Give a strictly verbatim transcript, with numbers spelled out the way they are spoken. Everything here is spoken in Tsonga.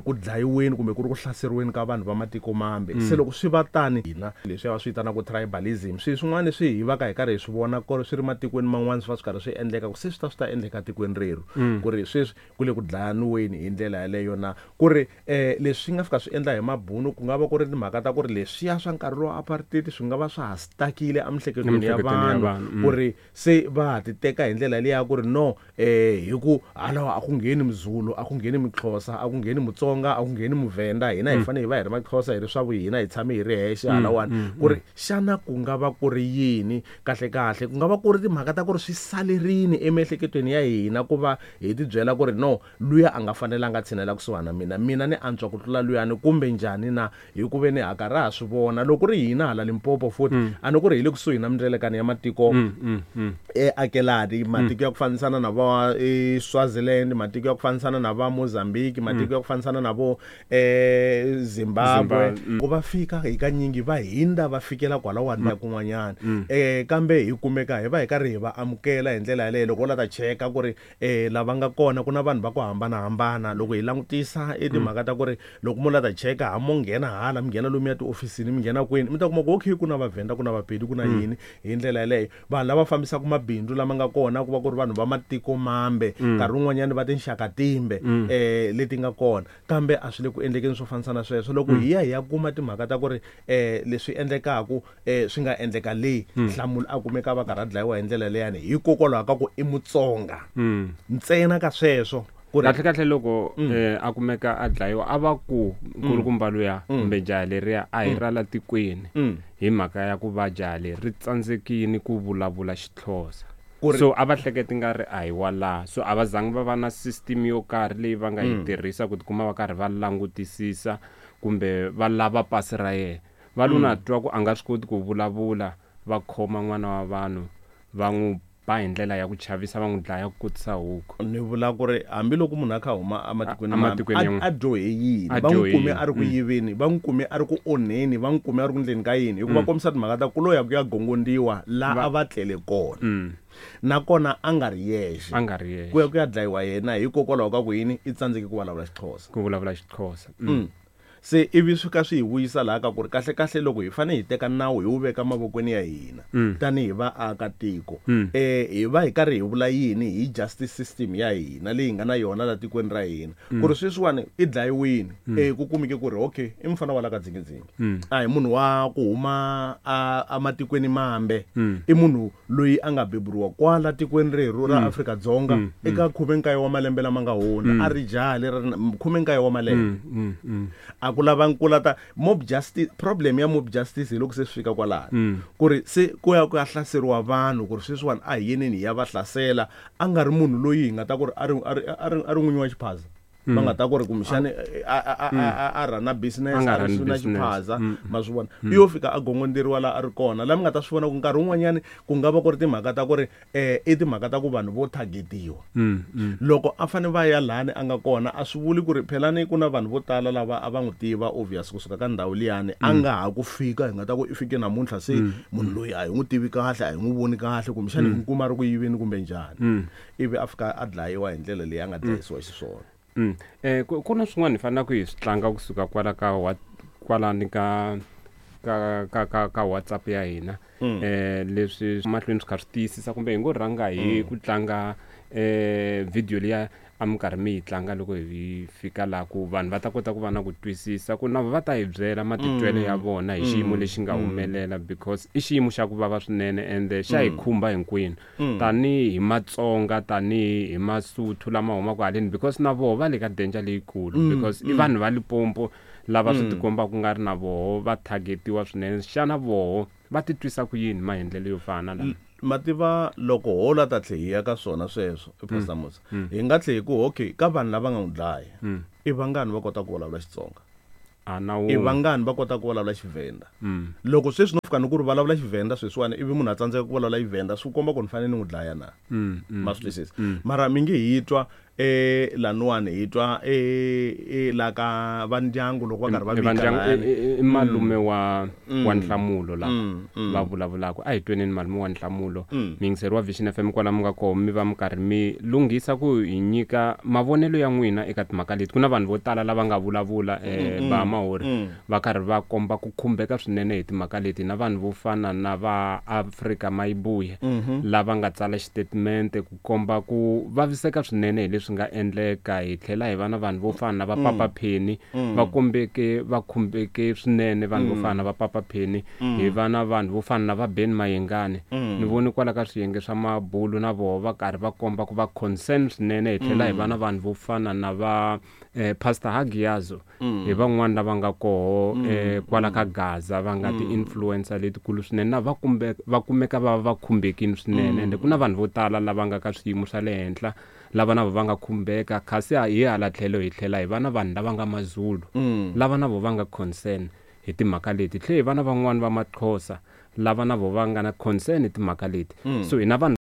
Ku dlayiweni kumbe ku ri ku hlaseriweni ka vanhu va matiko mambe. Se loko swi va tani hina leswi va swi vitanaka tribalism, swilo swin'wana leswi hi va ka hi karhi hi swi vona ku ri swi ri matikweni man'wana swi va swi karhi swi endleka ku se swi ta swi ta endleka tikweni rerhu, ku ri sweswi ku le ku dlayaniweni hi ndlela yaleyo na ku ri um leswi swi nga fika swi endla hi mabunu, ku nga va ku ri timhaka ta ku ri leswiya swa nkarhi lowa apartheid swi nga va swa ha stakile emiehleketweni ya Emiehleketweni ya vanhu, vanhu, mm. ku ri se va ha ti teka hi ndlela liya ku ri no eh hi ku halawa a ku ngheni Mzulu, a ku ngheni Mxhosa, a ku ngheni Mutsonga, a ku ngheni Muvhenda, hina hi fanele hi va hi ri Maxhosa, hi ri swa vuhina, hi tshame hi ri hexe halawani. Ku ri xana ku nga va ku ri yini kahle kahle? Ku nga va ku ri timhaka ta ku ri swi salerini emiehleketweni ya hina ku va hi ti byela ku ri no, luya a nga fanelanga a tshinela kusuhana na mina, mina ni antswa ku tlula luyani kumbe njhani na? Hi ku ve ni ha karhi ha swi vona loko ri hina hala Limpopo futhi a ni ku ri hi le kusuhi na mindzelekano ya matiko e akelani, matiko ya ku fambisana na va e Swaziland, matiko ya ku fambisana na va Mozambique, matiko ya ku fambisana na vo e Zimbabwe. Zimbabwe, Ku va fika hi kanyingi va hindza va fikela kwalawani na kun'wanyana, eh kambe hi kumeka hi va hi karhi hi va amukela hi ndlela yaleyo. Loko u la ta cheka ku ri eh lava nga kona ku na vanhu va ku hambanahambana, loko hi langutisa i timhaka ta ku ri loko mo la ta cheka ha mo nghena hala mi nghena lomuya tiofisini mi nghena kwini, mi ta kuma ku okay ku na Vavhenda, ku na Vapedi, ku na yini hi ndlela yaleyo. Vanhu lava fambisaka mabindzu lama nga kona ku va ku ri vanhu va matiko mambe, nkarhi wun'wanyani va tinxaka timbe eh leti nga kona, kambe a swi le ku endlekeni swo fanisa na sweswo. Loko hi ya hi ya kuma timhaka ta ku ri eh leswi endlekaku eh swi nga endleka le Nhlamulo a kumeka va karhi a dlayiwa hi ndlela leyani hikokwalaho ka ku i Mutsonga ntsena ka sweswo. Ku ri Kahle kahle loko eh, a kumeka a dlayiwa a va ku nkulukumba luya kumbe jaha leriya a hi ra la tikweni hi mhaka ya ku va jaha leri ri tsandzekile ku vulavula Xixhosa. Ku ri- So a va hleketi nga ri a hi wa laha, so a va zangi va va na system yo karhi leyi va nga yi tirhisa ku tikuma va karhi va langutisisa kumbe va lava pasi ra yena. Va lo na twa ku a nga swi koti ku vulavula, va khoma n'wana wa vanhu va n'wi ba hi ndlela ya ku chavisa, va n'wi dlaya ku kotisa huku. Ni vula ku ri hambiloko munhu a kha a huma ematikweni A- ematikweni mambe, yan'wana. a, a dyohe yini, A va n'wi dyohe kume yini? a ri ku yiveni, va n'wi kume a ri ku onheni, va n'wi kume a ri ku ndleni ka yini, hikuva kombisa timhaka ta ku lo ya ku ya gongondiwa la a va tlele kona, nakona a nga ri yexe, A nga ri yexe. ku ya ku ya dlayiwa yena hikokwalaho ka ku yini i tsandzeke ku vulavula Xixhosa. Ku vulavula Xixhosa. Mm. Se ivi swi ka swi hi vuyisa laha ka ku ri kahle kahle loko hi fanele hi teka nawu hi wu veka mavokweni ya hina tanihi vaakatiko, eh hi va hi karhi hi vula yini hi justice system ya hina leyi hi nga na yona la tikweni ra hina, ku ri sweswiwani i dlayiwini, eh ku kumeke ku ri okay i mufana wa la ka Dzingidzingi, a hi munhu wa ku huma a ematikweni mambe, i munhu loyi a nga beburiwa kwala tikweni rerhu ra Afrika-Dzonga eka khume nkaye wa malembe lama nga hundza, a ri jaha leri ri na khume nkaye wa malembe. A ku lava ku lata mob justice. Problem ya mob justice hi loko se swi fika kwalano ku ri se ku ya ku ya hlaseriwa vanhu, ku ri sweswiwani a hi yeneni hi ya va hlasela, a nga ri munhu loyi hi nga ta ku ri a ri a ri a ri a ri n'winyi wa xiphaza, va nga ta ku ri kumbexani a a a a a rhana business, A nga a ri run swi na business. xiphaza, ma swi vona, i yo fika a gongonderiwa laha a ri kona. Laha mi nga ta swi vona ku nkarhi wun'wanyani ku nga va ku ri timhaka ta ku ri eh i timhaka ta ku vanhu vo targetiwa. Loko a fane va ya lani a nga kona, a swi vuli ku ri phela ni ku na vanhu vo tala lava a va n'wi tiva obvious kusuka ka ndhawu liyani, a nga ha ku fika hi nga ta ku i fike namuntlha, se munhu loyi a hi n'wi tivi kahle, a hi n'wi voni kahle, kumbexani hi n'wi kuma a ri ku yiveni kumbe njhani, ivi a fika a dlayiwa hi ndlela leyi a nga dlayisiwa xiswona. Mm. Eh ku ku na swin'wana hi faneleke hi swi tlanga kusuka kwala ka wa kwalani ka ka ka ka ka WhatsApp ya hina. Eh leswi mahlweni swi kha swi tiyisisa kumbe hi ngo rhanga hi ku tlanga eh video liya a mi karhi mi yi tlanga loko hi fika laha ku vanhu va ta kota ku va na ku twisisa ku na va ta hi byela matitwelo ya vona hi xiyimo lexi nga humelela, because i xiyimo xa ku vava swinene ende xa hi khumba hinkwenu tanihi Matsonga, tanihi hi Masotho lama humaka haleni, because na voho va le ka danger leyikulu, because i vanhu va Limpopo lava swi tikomba ku nga ri na voho va targetiwa swinene. Xana voho va titwisa ku yini maendlelo yo fana na lama? Mativa loko ho la ta tlhe hi ya ka swona sweswo Pastor Musa, hi nga tlhe hi ku okay ka vanhu lava nga n'wi dlaya i vangani va kota ku vulavula Xitsonga, A na i wun'we. vangani va kota ku vulavula Xivhenda. Loko sweswi no fika ni ku ri vulavula Xivhenda sweswiwani ivi munhu a tsandzeka ku vulavula Xivhenda, swi komba ku ni fanele ni n'wi dlaya na? Ma swi twisisa? Mara mi nge hi twa eh laniwani hi twa eh la ka va ndyangu loko va karhi va vika i malume wa wa Nhlamulo la va vulavulaka. A hi tweneni malume wa Nhlamulo, miyingiseri wa Vision F M kwala mi nga koho, mi va mi karhi mi lunghisa ku hi nyika mavonelo ya n'wina eka timhaka leti. Ku na vanhu vo tala lava nga vulavula eh ba Mahori va karhi va komba ku khumbeka swinene hi timhaka leti, na vanhu vo fana na va Afrika Mayibuye lava nga tsala xitatimende ku komba ku vaviseka swinene hi leswi nga endleka. Hi tlhela hi va na vanhu vo fana na va Papa Penny va kombeke va khumbeke swinene, vanhu vo fana na va Papa Penny, hi va na vanhu vo fana na va Ben Mayengani. Ni voni kwala ka swiyenge swa mabulu na voho va karhi va komba ku va concern swinene. Hi tlhela hi va na vanhu vo fana na va eh, Pastor Hagiazo, hi van'wana lava nga koho eh, kwala ka Gaza va nga ti-influencer letikulu swinene, na va kumbe va kumeka va va khumbekini swinene. Ende ku na vanhu vo tala lava nga ka swiyimo swa le henhla lava na vo va nga khumbeka, kasi hi hala tlhelo hi tlhela hi va na vanhu lava nga Mazulu lava na vo va nga concern hi timhaka leti. Tlhe hi va na van'wani va Maxhosa lava na vo va nga na concern hi timhaka leti. So hi na vanhu